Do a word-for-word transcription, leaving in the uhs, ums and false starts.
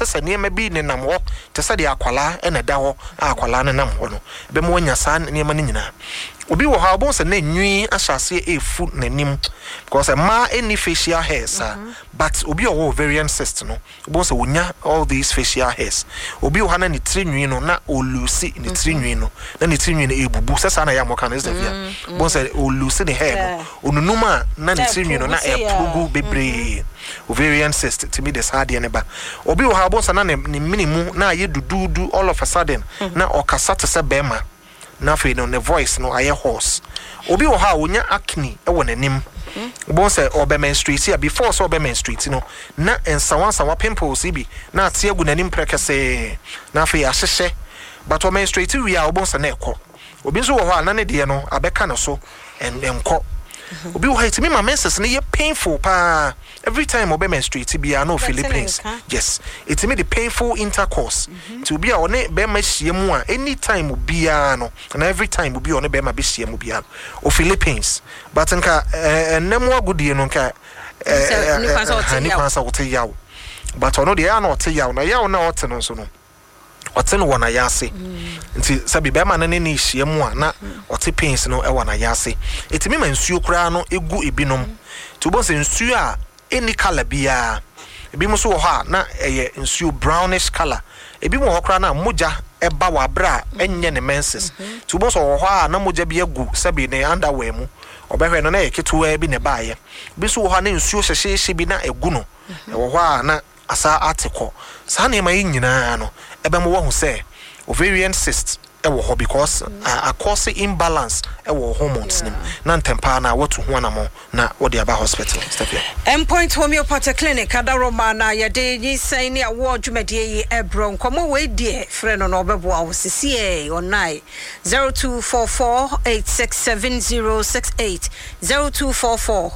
sɛ sɛ nneɛma bi nenam hɔ te sɛ deɛ akwalaa ɛna ɛda hɔ a akwalaa nenam hɔ no, ɛbɛma wanya saa nneɛma no nyinaa. Obi wɔ hɔ a, wobɛhu sɛ na nwi ahyɛ aseɛ ɛɛfu n'anim, because mmaa ɛnni facial hair saa, but obi a ɔwɔ ovarian cyst no, wobɛhu sɛ wonya all these facial hairs. Obi wɔ hɔ na ne tiri nwi no na ɔlose ne tiri nwi no, na ne tiri nwi no ɛbubu sɛ saa na ɛyɛ a mɔka no ɛsɛ fia. Wobɛhu sɛ ɔlose ne hair no, onunum a na ne tiri nwi no na ɛpurugu bebree. Ovarian cyst tumi de saa adeɛ no ba. Obi wɔ hɔ a, wobɛhu sɛ na ne ne mene mu na ayɛ duduudu all of a sudden, na ɔkasa te sɛ bɛrima, na afei no ne voice no ayɛ hoarse. Obi wɔ hɔ a onya acne wɔ n'anim. Wobɛhu sɛ ɔbɛ menstruate a, before sɛ ɔbɛ menstruate no, na nsawansawa pimples yi bi na ate agu n'anim prɛkɛsɛɛ, na afei ahyehyɛ, but ɔmenstruate wie a, wobɛhu sɛ na ɛkɔ. Obi nso wɔ hɔ a na ne deɛ no abɛka ne so, ɛnkɔ. Obi wɔ hɔ a, ɛtumi ma menses no yɛ painful paa. Every time ɔbɛ menstruate biara na ɔfeel pains. Yes, ɛtumi de painful intercourse, nti obi a ɔne bɛrima hyia mu a, anytime obiara no na every time obi a ɔne bɛrima bɛhyia mu biara no, ɔfeel pains. But nka ɛnɛ mu agodie no nka Sɛ ne kwan sɛ ɔte yaw, but ɔno deɛ ɛyɛ a na ɔte yaw, na yaw na ɔte no nso no, ɔte no wɔ n'ayɛ ase. Nti sɛbi bɛrima no ne ne hyia mu a, na ɔte pains no wɔ n'ayɛ ase. Ɛtumi ma nsuo koraa no egu ebinom, nti wobɛhu sɛ nsuo a ɛnni colour biara. Ebi nso wɔ hɔ a na ɛyɛ nsuo brownish colour. Ebi wɔ hɔ koraa na mogya ɛba wɔ abere a ɛnyɛ ne menses, nti wobɛhu sɛ ɔwɔ hɔ a na mogya bi agu sɛbi ne underwear mu. Ɔbɛhwɛ no na ɛyɛ ketewa bi na ɛbaayɛ. Bi nso wɔ hɔ a na nsuo hyehyeehye bi na ɛgu no, ɛwɔ hɔ a na asa ate kɔ. Saa nneɛma yi nyinaa no ɛbɛma wɔahu sɛ ovarian cyst ɛwɔ hɔ, because uh, akɔse imbalance ɛwɔ hormones nim, na ntɛmpaa na wɔtu ho anamɔ na wɔde aba hospital. Stefia. Endpoint Homeopathy Clinic adaroma na yɛde nyinsɛn ne awoɔ dwumadie yi ɛbrɛ. Nkɔmmɔ wei deɛ, frɛ no na ɔbɛboa wo sisiɛ ɔnae zero two four four eight six seven zero six eight, zero two four four.